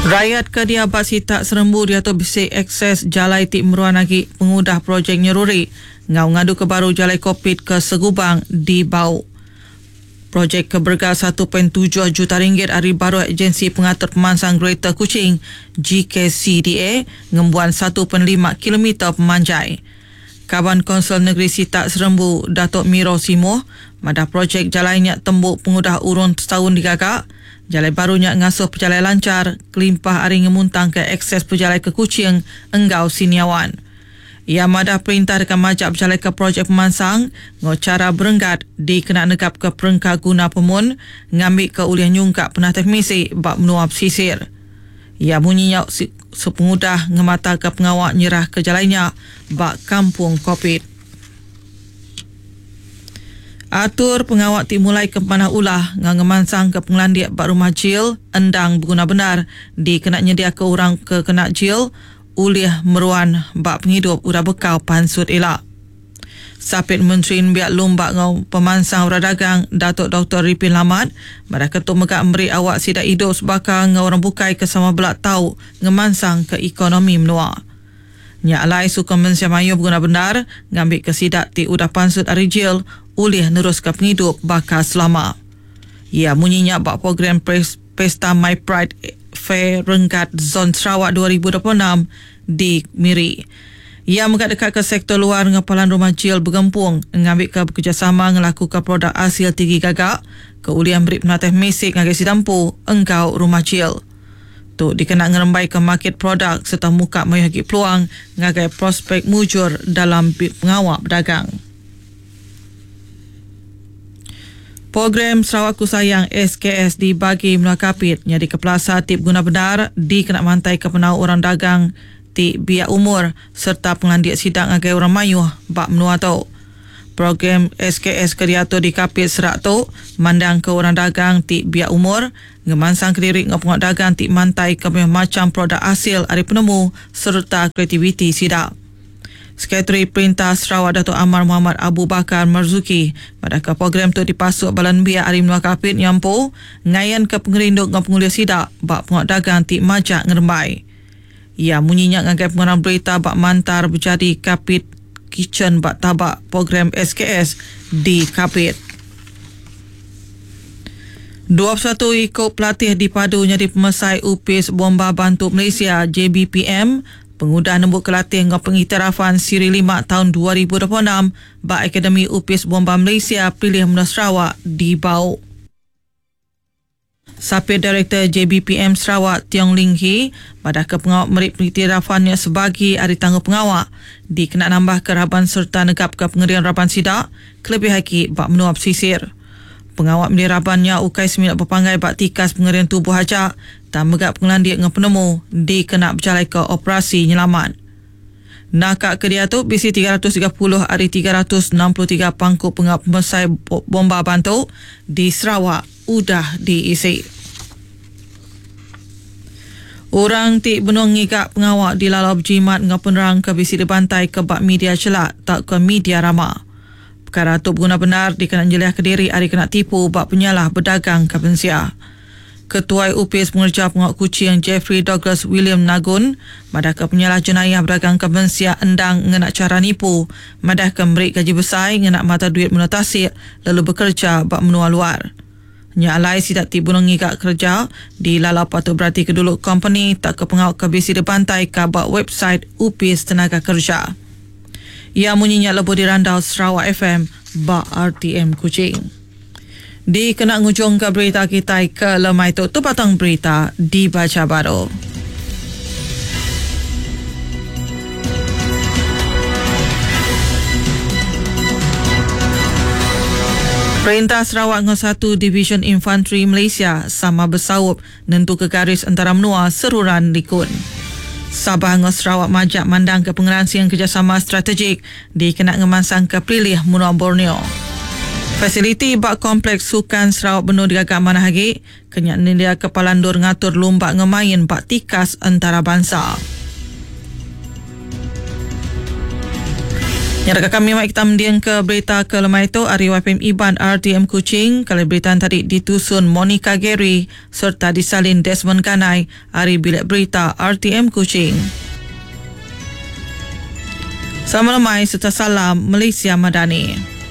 Rayat ke diau ba sitak Serembu diatu bisi akses jalai ti meruan agi pengudah projek nyeruri enggau ngaduka baru Jalai Kopit ke Segubang di Bau. Projek ke berega 1.7 juta ringgit ari baruh Agensi Pengatur Pemansang Greater Kuching, GKCDA, ngembuan 1.5 kilometer pemanjai. Kaban Kaunsil Negeri Sitak Serembu, Datuk Miro Simuh, madah projek jalai nya tembu pengudah urung setaun digaga. Jalai baru nya ngasuh pejalai lanchar kelimpah ari ngemuntangka akses pejalai ke Kuching enggau Siniawan. Iya madah perintah deka majak bejalaika projek pemansang enggau chara berenggat dikena negapka perengka guna pemun ngambika ulih nyungkak penatai pemisi ba menua pesisir. Iya munyi nya sepengudah ngemataka pengawa nyerahka jalai nya ba Kampung Kopit. Atur pengawa ti mulaika pemanah ulah enggau ngemansangka pengelandik ba rumah jil endang beguna bendar dikena nyediaka orang ke kena jil ulih meruan ba pengidup udah bekau pansut ila. Sapit Menteri Nembiak Lumba enggau Pemansang Orang Dagang Datuk Doktor Ripin Lamat madahka tu mega meri awak sida idup sebaka enggau orang bukai ke sama bela tau ngemansangka ekonomi menua. Nya alai sukung mensia mayuh beguna bendar ngambika sida ti udah pansut ari jil ulih neruska pengidup baka selama. Iya munyi nya ba program Pesta My Pride Fair Renggat Zon Sarawak 2026 di Miri. Iya mega deka ke sektor luar enggau palan rumah jil begempung ngambika bekerejasama ngelakuka produk asil tinggi gaga ke ulih meri penatai pemisi ngagai sida empu enggau rumah jil. Tu dikena ngerembaika makit produk sereta muka mayuh agi peluang ngagai prospek mujur dalam pengawa bedagang. Program Sarawakku Sayang, SKS, di Bagi Menua Kapit nyadika pelasar ti beguna bendar dikena mantaika penau orang dagang ti biak umur sereta pengelandik sida ngagai orang mayuh ba menua tu. Program SKS ke diatur di Kapit serak tu mandangka orang dagang ti biak umur ngemansangka diri enggau pengawa dagang ti mantaika mayuh macham produk asil ari penemu sereta kreativiti sida. Sekretari Perintah Sarawak Datuk Amar Mohamad Abu Bakar Marzuki madahka program tu dipasuk bala nembiak ari menua Kapit nya empu ngayanka pengerindu enggau pengulih sida ba pengawa dagang ti majak ngerembai. Iya munyi nya ngagai pengarang berita ba Mantar Bejadi Kapit Kitchen ba taba program SKS di Kapit. 21 iku pelatih dipadu nyadi pemesai Opis Bomba Bantu Malaysia, JBPM, Pengudah nembuka latih enggau pengiktirafan Siri lima taun 2026 ba Akademi Opis Bomba Malaysia Pilih Menua Sarawak di Bau. Sapit Direktor JBPM Sarawak Tiong Ling Hee madahka pengawa meri pengiktirafan nya sebagi ari tanggungpengawa dikena nambahka raban sereta negapka pengering raban sida kelebih agi ba menua pesisir. Pengawa milih raban nya ukai semina bepanggai ba tikas pengering tubuh aja tang mega pengelandik enggau penemu dikena bejalaika operasi nyelamat. Naka ke diatu bisi 330 ari 363 pangku pengawa pemesai bomba bantu di Sarawak udah diisi. Orang ti benung ngiga pengawa dilalau bejimat enggau penerang ke bisi dibantaika ba media chelak tauka media rama. Pekara tu beguna bendar dikena nyeliahka diri ari kena tipu ba penyalah bedagangka mensia. Ketuai Opis Pengereja Pengawa Kuching Jeffrey Douglas William Nagun madahka penyalah jenayah bedagangka mensia endang ngena chara nipu madahka meri gaji besai ngena mata duit menua tasik lalu bekereja ba menua luar. Nya alai sida ti benung ngiga kereja dilalau patut beratika dulu kompeni tauka pengawa ke bisi dibantaika ba website Opis Tenaga Kereja. Iya munyi nya lebuh dirandau Sarawak FM ba RTM Kuching. Dikena ngujungka berita kitai ke lemai tu, tu batang berita dibacha baru. Perintah Sarawak enggau satu Divisyen Infantri Malaysia sama besaup nentuka garis entara menua seruran likun. Sabah enggau Sarawak majak mandangka pengeransing kerejasama strategik dikena ngemansangka pelilih menua Borneo. Fasiliti ba Kompleks Sukan Sarawak benung digaga manah agi ke nya nyendiaka palan endur ngatur lumba enggau main ba tikas entarabansa. Nyadaka kami mai kita mending ke berita ke lemai tu ari YPM Iban RTM Kuching. Kali berita tadi ditusun Monica Gary serta disalin Desmond Ganai ari Bilik Berita RTM Kuching. Selamat lemai serta salam Malaysia Madani.